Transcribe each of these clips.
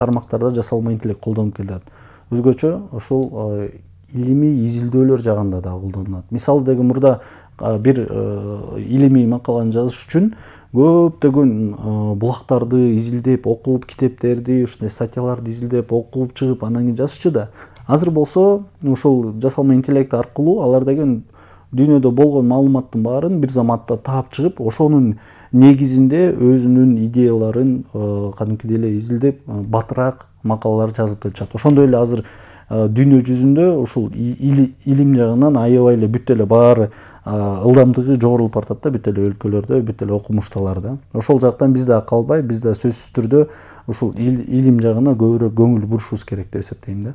тармактарда жасалма интеллект колдонуп келет. Өзгөчө ушул илимий изилдөөлөр жагында да колдонулат. Мисалы деген мурда бир илимий макаланы жазыш үчүн көптөгөн булактарды изилдеп, окуп, китептерди, ушундай статьяларды изилдеп, окуп чыгып, анан кийин жазышчу да. Азыр болсо ушул жасалма интеллект аркылуу алар деген дүйнөдө болгон маалыматтын баарын бир заматта таап чыгып, ошонун негизинде өзүнүн идеяларын кадимкидей эле изилдеп, батыраак макалалар жазып келишат. Ошондой эле азыр дүйнө жүзүндө ушул илим жагынан аябай эле бүт эле баары ылдамдыгы жогорулуп баратат да, бүт эле өлкөлөрдө, бүт эле окумушталарда. Ошол жактан биз да калбай, биз да сөзсүз түрдө ушул илим жагына көбүрөөк көңүл бурушубуз керек деп эсептейм да.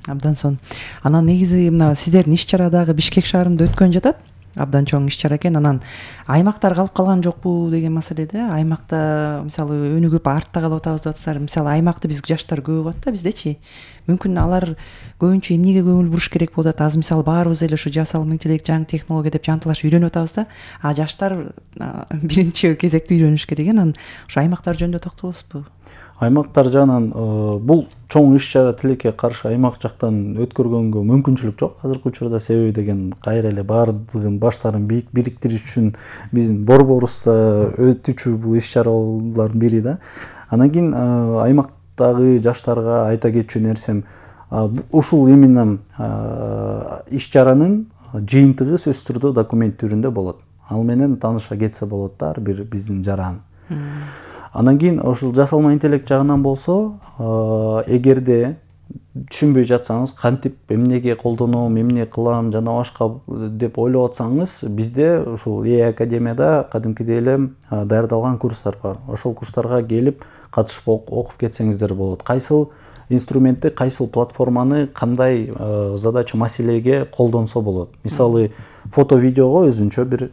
Абдан сонун. Анан негизи мына сиздердин иш чара дагы Бишкек шаарында өткөн жатат. Абдан чоң иш чара экен. Анан аймактар калып калган жокпу деген маселеде, аймакта мисалы өнүгүп артта калып атабыз деп атсалар, мисалы аймакты биз жаштар көп болот да биздечи. Мүмкүн алар көбүнчө эмнеге көңүл буруш керек болуп атат? Азыр мисалы баарыбыз эле ушу жасалма интеллект, жаңы технология деп жанталашып үйрөнүп атабыз да. Жаштар биринчи кезекте үйрөнүш керек экен. Анан ушу аймактар жөнүндө токтолосузбу? Аймактар жагынан бул чоң иш чара тилекке каршы аймак жактан өткөргөнгө мүмкүнчүлүк жок азыркы учурда. Себеби деген кайра эле баардыгын баштарын бириктириш үчүн биздин борборубузда өтүүчү бул иш чаралардын бири да. Анан кийин аймактагы жаштарга айта кетчү нерсем, ушул именно иш чаранын жыйынтыгы сөзсүз түрдө документ түрүндө болот. Ал менен тааныша кетсе болот да ар бир биздин жаран. Анан кийин ушул жасалма интеллект жагынан болсо, эгерде түшүнбөй жатсаңыз, кантип эмнеге колдоном, эмне кылам, жана башка деп ойлоп атсаңыз, бизде ушул Академияда кадимкидей эле даярдалган курстар бар. Ошол курстарга келип катышып окуп кетсеңиздер болот. Кайсыл инструментти, кайсыл платформаны кандай задача, маселеге колдонсо болот. Мисалы, фото-видеого өзүнчө бир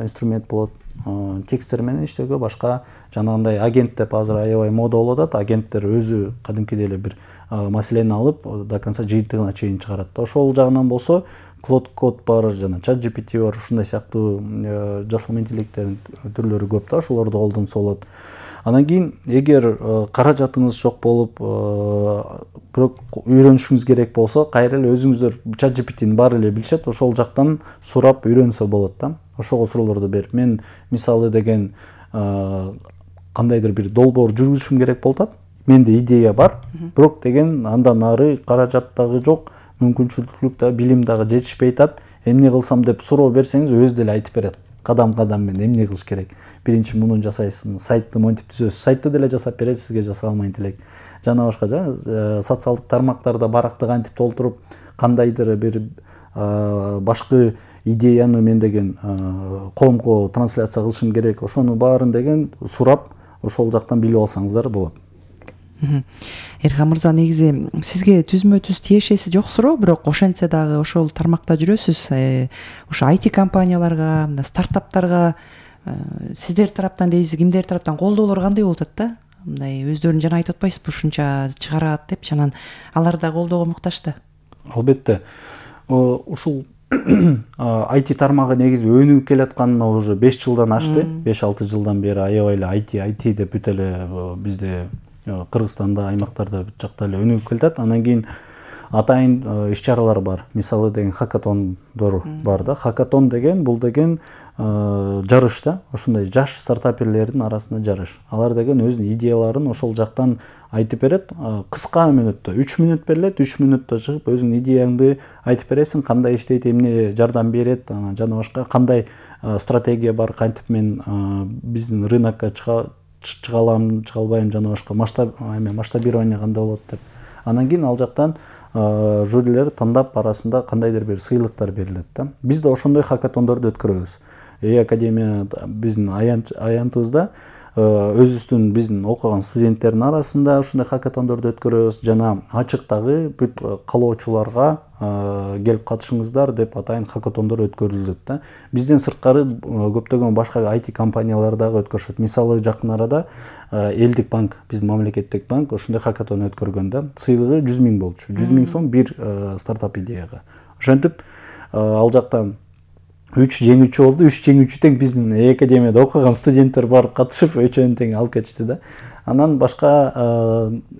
инструмент болот. Тексттер менен иштөөгө башка жанагындай агент деп азыр аябай мода болуп атат. Агенттер өзү кадимкидей эле бир маселени алып до конца жыйынтыгына чейин чыгарат. Ошол жагынан болсо Claude Code бар, жана ChatGPT бар, ушундай сыяктуу жасалма интеллекттердин түрлөрү көп да, ошолорду колдонсо болот. Анан кийин эгер каражатыңыз жок болуп, бирок үйрөнүшүңүз керек болсо, кайра эле өзүңүздөр ChatGPT-ни баары эле билишет, ошол жактан сурап үйрөнсө болот да. Ошого суроолорду берип, мен мисалы деген кандайдыр бир долбоор жүргүзүшүм керек болуп атат. Менде идея бар, бирок деген андан ары каражат дагы жок, мүмкүнчүлүк да, билим дагы жетишпей атат. Эмне кылсам деп суроо берсеңиз, өзү деле айтып берет. Кадам-кадам менен эмне кылыш керек. Биринчи муну жасайсың, сайтты монтип түзөсүз. Сайтты деле жасап берет сизге жасалма интеллект. Жана башка социалдык тармактарда баракты кантип толтуруп, кандайдыр бир башкы идеяны мен деген коомго трансляция кылышым керек. Ошону баарын деген сурап, ошол жактан билип алсаңыздар болот. Эрхан мырза, негизи сизге түзмө-түз тиешеси жок суроо, бирок ошентсе дагы ошол тармакта жүрөсүз. Ушу IT компанияларга, стартаптарга сиздер тараптан дейсиз, кимдер тараптан колдоолор кандай болуп атат да? Мындай өздөрүн жана айтып атпайсызбы, ушунча чыгарат деп, анан алар да колдоого муктаж да. Албетте. Ушул IT тармагы негизи өнүгүп келатканына уже 5 жылдан ашты. 5-6 жылдан бери аябай эле IT деп бүт эле бизде Кыргызстанда, аймактарда бүт жакта эле өнүгүп келатат. Анан кийин атайын иш чаралар бар. Мисалы деген хакатондор бар да. Хакатон деген бул деген жарыш да. Ошондой жаш стартаперлердин арасында жарыш. Алар деген өзүнүн идеяларын ошол жактан айтып берет. Кыска мүнөттө 3 мүнөт берилет, 3 мүнөттө чыгып өзүңдүн идеяңды айтып бересиң, кандай иштейт, эмне жардам берет, жана башка кандай стратегия бар, кантип мен биздин рынокко чыга алам, чыга албайм, жана башка масштабирование кандай болот деп. Анан кийин ал жактан жюрилер тандап арасында кандайдыр бир сыйлыктар берилет да. Биз да ошондой хакатондорду өткөрөбүз. Академия биздин аянтыбызда өзүбүздүн биздин окуган студенттердин арасында ушундай хакатондорду өткөрөбүз, жана ачыктагы бүт каалоочуларга келип катышыңыздар деп атайын хакатондор өткөрүлөт да. Бизден сырткары көптөгөн башка IT компаниялар дагы өткөрүшөт. Мисалы жакын арада Элдик банк, биздин мамлекеттик банк ошондой хакатон өткөргөн да. Сыйлыгы 100 000 болчу. 100 000 сом бир стартап идеяга. Ошентип ал жактан 3 жеңүүчү болду. 3 жеңүүчү тең биздин академияда окуган студенттер барып катышып өчөөнү тең алып кетишти да. Анан башка